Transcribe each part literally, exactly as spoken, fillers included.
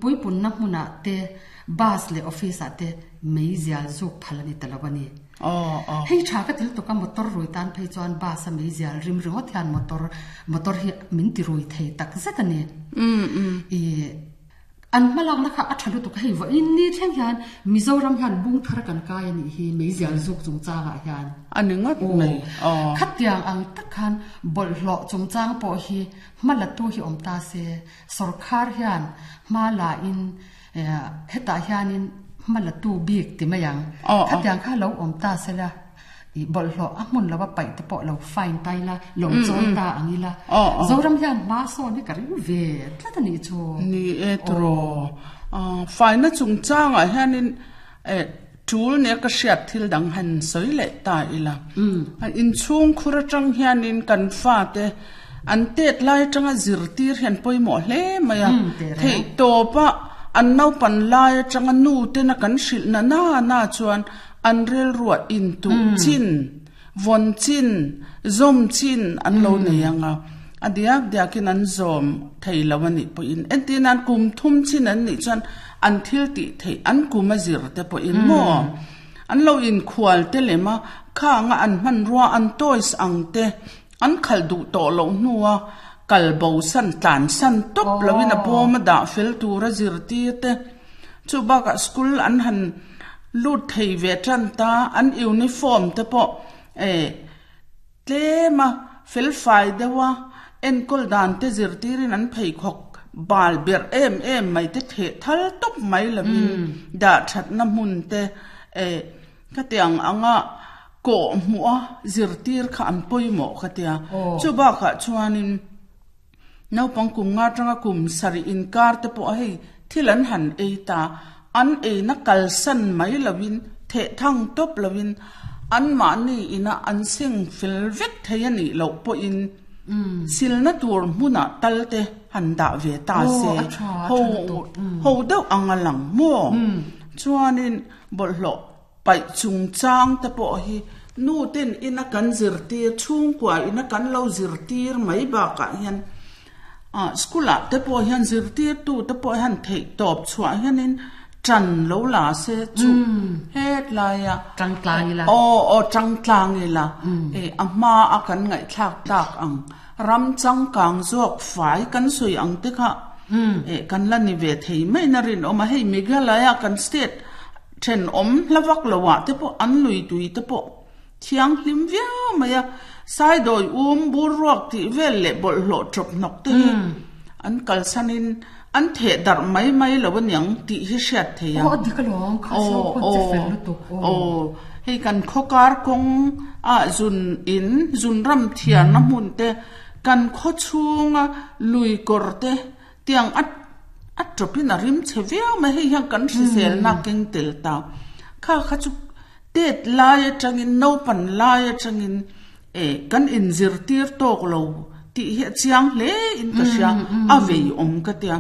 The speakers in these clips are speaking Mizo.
Puipunna hmunah te, bus leh office ah te meizial zuk phal a ni ta lo a ni. Hei tha ka til tuk a, motor rui tan phei chuan bus a meizial rim ringawt hian motor motor hi min ti rui thei tak zet a ni. I an hmalakna kha a tha lutuk a, hei vawiin ni thleng hian Mizoram hian bung thar kan kai a nih hi meizial zuk chungchangah hian. A ni ngawt mai. Khatiang ang tak khan bawlhhlawh chungchang pawh hi hma latu hi awm ta se, sorkar hian hma la in hetah hianin hma latu bik ti mai ang. Khatiang kha lo awm ta se la, i bawlhhlawh a hmun lova paih te pawh lo fine ta ila, lo chawi ta ang ila. Zoram hian hma sawn hi ka ring ve tlat a nih chu. Ni e tiraw. Faina chungchangah hianin tul nia ka hriat thil dang han sawi leh ta ila. Inchhung khur atang hianin kan fate an tet lai atanga zirtir hian pawimawh hle mai a. Theih tawpa an naupan lai atanga nu tena kan hrilh na na na chuan an rilruah intuh chin, vawn chin, zawm chin an lo nei ang a. A diak diakin an zawm thei lo a nih pawhin entir nan kum thum chin an nih chuan an thil tih theih an kum a zir te pawhin maw an lo inkhual te lem a, khanga an hmanrua an toys ang te an khalh duh tawh loh hnua kal bo san tlan san tawp loin a bawm a dah fel tura zirtir te chu bakah school an han lut thei ve tan ta an uniform te pawh eh tlema fel fai deuha enkawl dan te zirtirin an pheikhawk bal ber em em mai te theh thal tawp mai lovin dah thatna hmun te eh khatiang anga kawh hmuh a zirtir kha an pawimawh khatia chu bakah chuanin naupang kum nga tanga kum sarih inkar te pawh hei thil an han ei ta an eina kalsan mai lovin theh thang tawp lovin an mahni ina an seng fel vek thei a nih loh pawhin silna tur hmunah tal te han dah ve ta se ho ho deuh ang a lang maw chuanin bawlhhlawh paih chungchang te pawh hi nu ten ina kan zirtir chhungkua ina kan lo zirtir mai bakah hian school ah te pawh hian zirtir tu te pawh hian theih tawp chhuah hianin tan lo la se chu het laia tang tlang ila o o tang tlang ila e a hma a kan ngaih thlak tak ang ram changkang zawk fai kan sui ang te kha e kan la ni ve thei mai na rin awm a hei Meghalaya kan state then awm hlavak lowa te pawh an lui tui te pawh thiang hlim viau mai a sai doi um bur ruak ti vel leh bawlhhlawh chawp hnawk te hi an kalsanin an theh darh mai mai lo aniang tih hi hriat thei a. O dik alawm kha so khawn che fel lutuk o hei kan khawkar kawng a zun in zun ram thian na hmun te kan khaw chhunga lui kawr te tiang a a chawpin a rim che viau mai hei hian kan hrisel na keng tel ta kha kha chu tet lai atangin naupan lai atangin e kan inzirtir tawk lo tih hi a chiang hle in ka hria a vei awm ka tia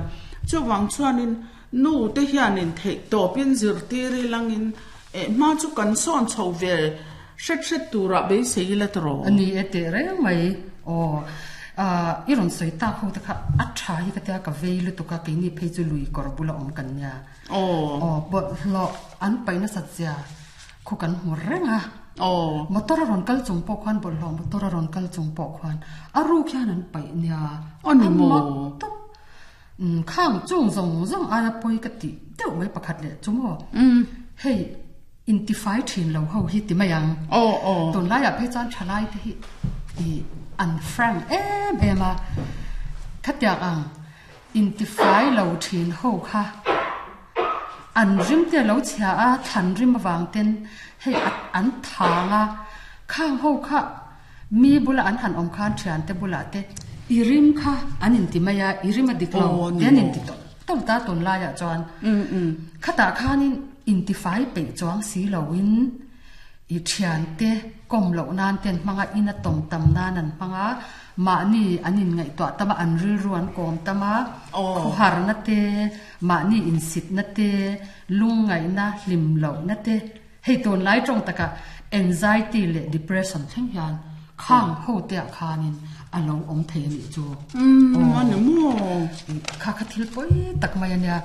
chuwang chuanin nu te hianin theih tawpin zirtir ilangin e hma chu kan sawn chho ve hret hret tura beisei ila tiraw ani e te reng mai o a i rawn sawi tak ho te kha a tha hi ka tia ka vei lutuk a keini phei chu lui kawr bula awm kan nia o o bawlhhlawh an paihna sat zia khu kan hmu reng a o motor a rawn kal chung pawh khuan bawlhhlawh motor a rawn kal chung pawh khuan a ruk hian an paih nia Ani maw? tuk khang chung zawng zawng aia pawi ka ti deuh mai pakhat leh chu maw hei intifai thin lo ho hi ti mai ang o o tun laiah phei chuan thalai te hi i an frank em em a khatiang ang intifai lo thin ho kha an rim te lo chhia a thlan rim awang ten hei an thanga khang ho kha mi bula an han awm khan thian te bula te i rim kha an inti mai a i rim a dik lo Oh, ni te an maw. inti to to ta tun laiah chuan khatah khanin intifai peih chuang si loin i thian te kom loh nan ten hmanga ina tawm tam nan an hmanga mahni an in ngaihtuah tama an rilru an kawm tama Oh. khawhar na te mahni insit na te lungngaihna hlim loh na te hei tun lai tawng taka anxiety leh depression thleng hian khang ho te ah khanin a lo awm thei ani chu um ani maw kha kha thil pui tak mai ania.